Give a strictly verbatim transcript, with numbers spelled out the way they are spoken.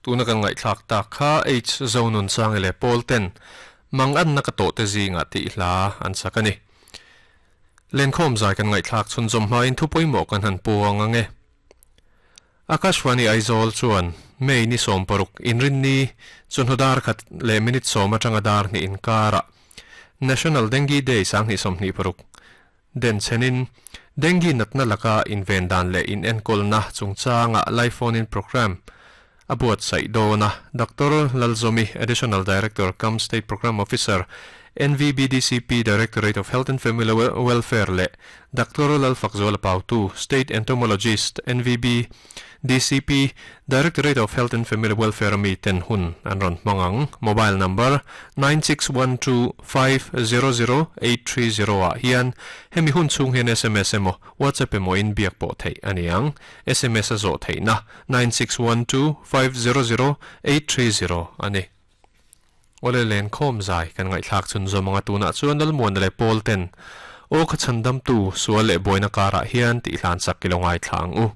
Tuna kan ngai thlak tak kha H zonun sang le pawl ten mang an na ka to te zinga ti hla an sakani len khom zai kan ngai thlak chun zom hma in thu poimo kan han puang ange. Akashwani Aizawl chuan May ni som paruk inrin ni chunhodar khat le minute som atanga dar ni inkara National Dengue Day sang ni som ni paruk den chenin dengue natna laka invendan le in enkol na chungchanga live phone in program abuat sai dona. Doctor Lalzomi, Additional Director cum State Program Officer, N V B D C P, Directorate of Health and Family Welfare le Doctor Lalfakzola Pautu, State Entomologist, N V B D C P, Directorate of Health and Family Welfare mi ten hun an ron mangang. Mobile number nine six one two five zero zero eight three zero a hian hemi hun chung hian S M S emo WhatsApp emo in biak pawh thei aniang. S M S a zo thei na nine six one two five zero zero eight three zero ani. Ole len khom zai kan ngai thlak chun zomanga tuna chuan dal muan le pawl ten o kha chandam tu sual le boina kara hian ti hlan sak kilongai thlang u.